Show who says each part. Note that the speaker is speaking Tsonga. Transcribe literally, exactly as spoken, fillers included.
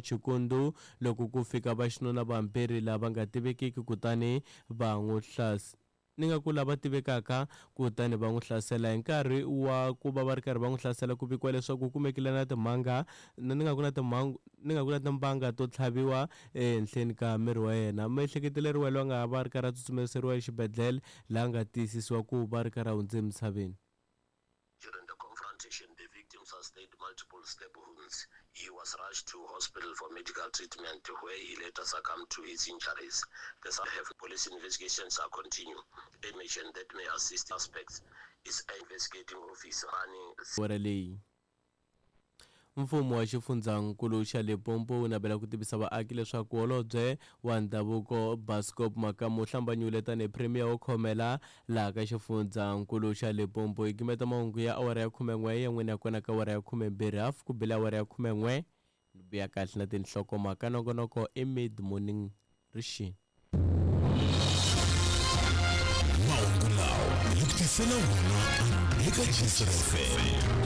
Speaker 1: Chikundu loko ku fika vaxinuna vambirhi lava nga tivekiki kutani va n'wi hlas ni nga ku lava tivekaka kutani va n'wi hlasela hi nkarhi wa ku va va ri karhi va n'wi hlasela ku vikiwa leswaku ku kumekile na timhanga ni nga ku na timhangu ni nga ku na timbanga to tlhaviwa ehenhleni ka miri wa yena miehleketeleriwa loyi a nga va ri karhi a tsutsumeriseriwa exibedhlele laha nga tiyisisiwa ku va ri karhi a hundze emisaveni.
Speaker 2: During the confrontation, the victim sustained multiple stab wounds. He was rushed to hospital for medical treatment, where he later succumbed to his injuries. The have police investigations are continuing. Information that may assist suspects is investigating officer running
Speaker 1: wara leyi mfumo wa xifundzankulu xa Limpopo wu navela ku tivisa vaaki leswaku holobye wa ndhavuko Bascop Makamu u hlambanyile tanihi premier wo khomela laha ka xifundzankulu xa Limpopo hi gimeta mahungu ya awara ya khumen'we ya n'wini ya kona ka awara ya khumembirhi hafu ku bile awara ya khumen'we ni vuya kahle na tinhlokomhaka nongonoko i mid morning rixini.
Speaker 3: Mahungu lawa hi ku tisela wona eka G S F M.